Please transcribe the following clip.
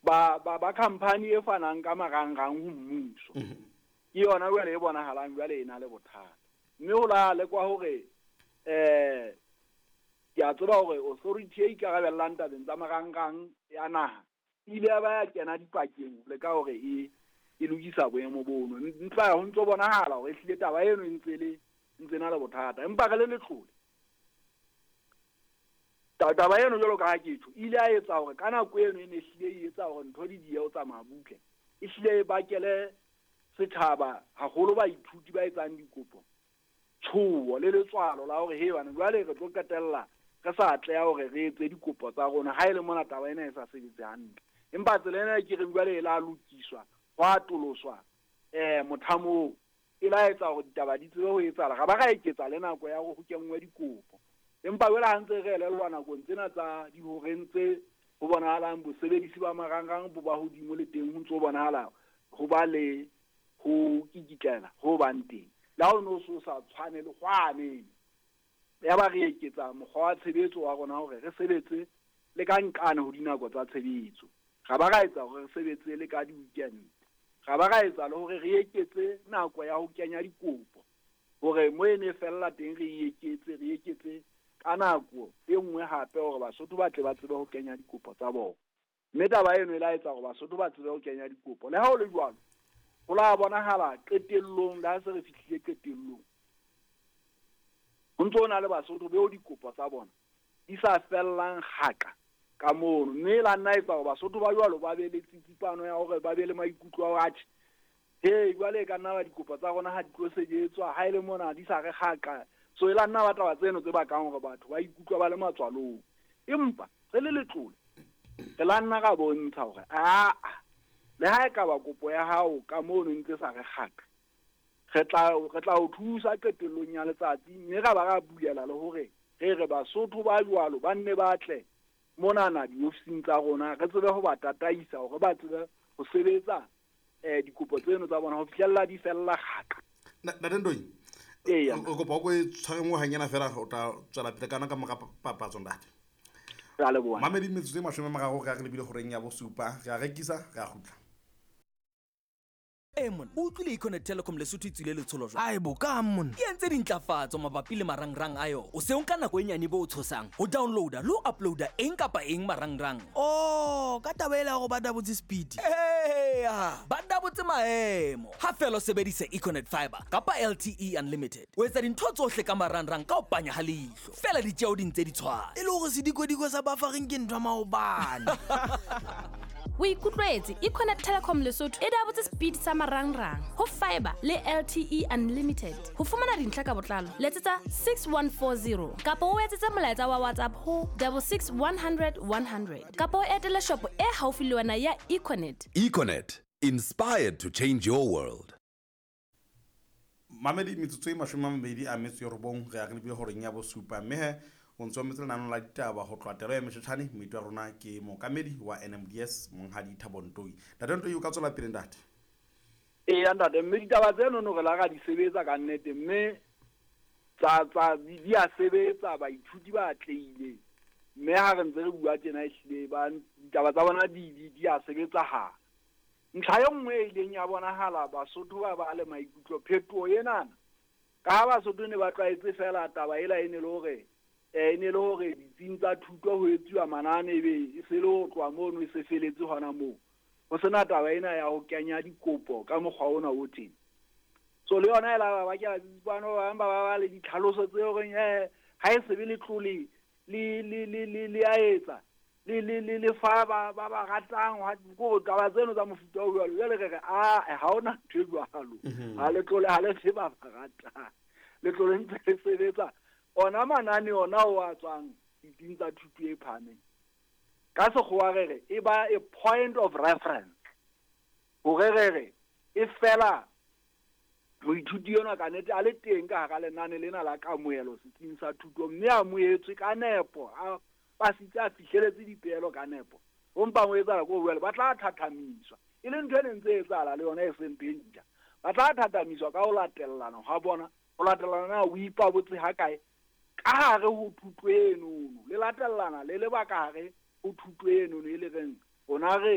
Ba khampani e fanang ka marangrang ho mmuso. Ke yona jwale e bonahalang jwale e na le bothata. Mme ho la lekwa hore ke a tseba hore authority e ikarabellang tabeng tsa marangrang ya naha e ile ya ba ya kena dipakeng le ka hore e lokisa boemo bono. Empa ho ntso bonahala hore ehlile taba eno e ntse le ntse na le bothata. Empa re le letlole taba eno jwalo ka ha ke tjho, e ile ya etsa hore ka nako eno e ne ehlile e etsa hore ntho di diehe ho tsamaya butle. E hlile e bakele setjhaba haholo baithuti ba etsang dikopo tshoho le letswalo la hore he bana jwale re tlo qetella re sa atleha hore re etse dikopo tsa rona ha e le mona taba ena e sa sebetse hantle. Empa tsela ena ke reng jwale e la lokiswa, hwa atoloswa mothamo e la etsa hore ditaba di tsebe ho etsahala. Ra ba ra eketsa le nako ya hore ho kenngwe dikopo. Empa jwale ha ntse re elellwa nakong tsena tsa dihoreng tse ho bonahalang bosebedisi ba marangrang bo ba hodimo le teng ho ntse ho bonahala ho ba le ho kikitlela ho bang teng. Le ha o no so sa tshwane le hwane. Ya ba re eketsa mokgwa wa tshebetso wa rona hore re sebetse le ka nqane ho dinako tsa tshebetso. Ra ba ra etsa hore re sebetse le ka di-weekend. Ra ba ra etsa le hore re eketse nako ya ho kenya dikopo. Hore mo e ne fella teng re eketse ka nako e nngwe hape hore Basotho ba tle ba tsebe ho kenya dikopo tsa bona. Mme taba eno e la etsa hore Basotho ba tsebe ho kenya dikopo. Le ha ho le jwalo, ho la bonahala qetellong, le ha se re fihlile qetellong, ho ntso ho na le Basotho beo dikopo tsa bona di sa fellang kgaka ka mono. Mme la nna etsa hore Basotho ba jwalo ba be le tsitsipano ya hore ba be le maikutlo a hore atjhe, he jwale e ka nna ba dikopo tsa rona ha di tlo sebetswa, ha e le mona di sa re kgaka. So e la nna ba taba tseno tse bakang hore batho ba ikutlwa ba le matswalong. Empa re le letlole re la nna ra bontsha hore aa le ha e ka ba kopo ya hao ka mono ntse sa re kgaka, re tla o thusa qetellong ya letsatsi. Mme ra ba ra bulela le hore re re Basotho ba jwalo ba nne ba tle monana diofising tsa rona, re tsebe ho ba tataisa hore ba tsebe ho sebetsa dikopo tseno tsa bona ho fihlella di fella kgaka. Ntate Ndoi, o kopa o e tshware nngwe hanyana fela o tla tswela pele kana ka mora papatso ntate. Re a leboha. Mamedi metsotso e 30 re a re lebile horeng ya bosupa, re a rekisa, re a kgutla. Monna, o utlwile Econet Telecom Lesotho e tswile letsholo jwang? Ai bo ka monna. E entse dintlafatso mabapi le marangrang a yona. O se o nka nako e nyane bo o tshosang ho downloada le ho uploada eng kapa eng marangrang. Oh, ka taba ela hore ba dabotse speed. Eya, ba dabotse maemo. Ha fela o sebedisa Econet Fiber kapa LTE Unlimited. O etsa dintho tsohle ka marangrang ka ho panya ha leihlo. Fela ditjeo di ntse di tshwana. E le hore sedikodiko sa buffering ke ntho ya maobane. O ikutlwetse Econet Telecom Lesotho e dabotse speed sa marangrang ho fiber le LTE Unlimited. Ho fumana dintlha ka botlalo letsetsa 6140 kapa o etsetse molaetsa wa WhatsApp ho 66 100 100 kapa o etele shopo e haufi le wena ya Econet. Econet, inspired to change your world. Mamedi metsotso e 29 re a re lebile horeng ya bosupa. Mme he o ntso metse lenaneo la ditaba ho tloha telo ya Moshetjhane. Moeti wa rona ke mookamedi wa NMDS Monghadi Thabo Ntoi. Ntate Ntoi, o ka tswela pele ntate? Eya ntate, mme ditaba tseno no re la ra di sebetsa ka nnete, mme tsa di a sebetsa, baithuti ba atlehile. Mme ha re ntse re bua tjena ehlile ba ditaba tsa bona di a sebetsa ha. Ntlha e nngwe e ileng ya bonahala Basotho ba ba le maikutlo phetoho enana, ka ha Basotho ne ba tlwaetse fela taba ela e ne le hore e ne le hore ditsing tsa thuto ho etsuwa manane ebe e se le ho tloha mono e se feletse hona moo. Ho sena taba ena ya ho kenya dikopo ka mokgwa ona o teng. So le yona e la ba bakela tsitsipano, ba bang ba ba le ditlhaloso tse horeng ha e sebe letlole le a etsa le fa ba ba ratang ko taba tseno tsa mofuta o jwalo. Jwale re re a ha hona ntho e jwalo. Ha letlole ha le se ba ba ratang. Letlole ntse le sebetsa ona manane ona o a tswang ditsing tsa thuto e phahameng. Ka sekgowa re re e ba a point of reference. Hore re re e fela moithuti enwa ka nnete a le teng ka hara lenane lena la kamohelo setsing sa thuto, mme a amohetswe ka nepo, a pasitse a fihleletse dipeelo ka nepo. Ho mpa ho etsahala ko jwale ba tla thathamiswa, e leng ntho e neng ntse etsahala le yona e seng ntho e ntjha. Ba tla thathamiswa ka ho latellana ha bona, ho latellana na o ipabotse ha kae ka hare ho thuto enono, le latellana le lebaka hare ho thuto enono e le reng rona re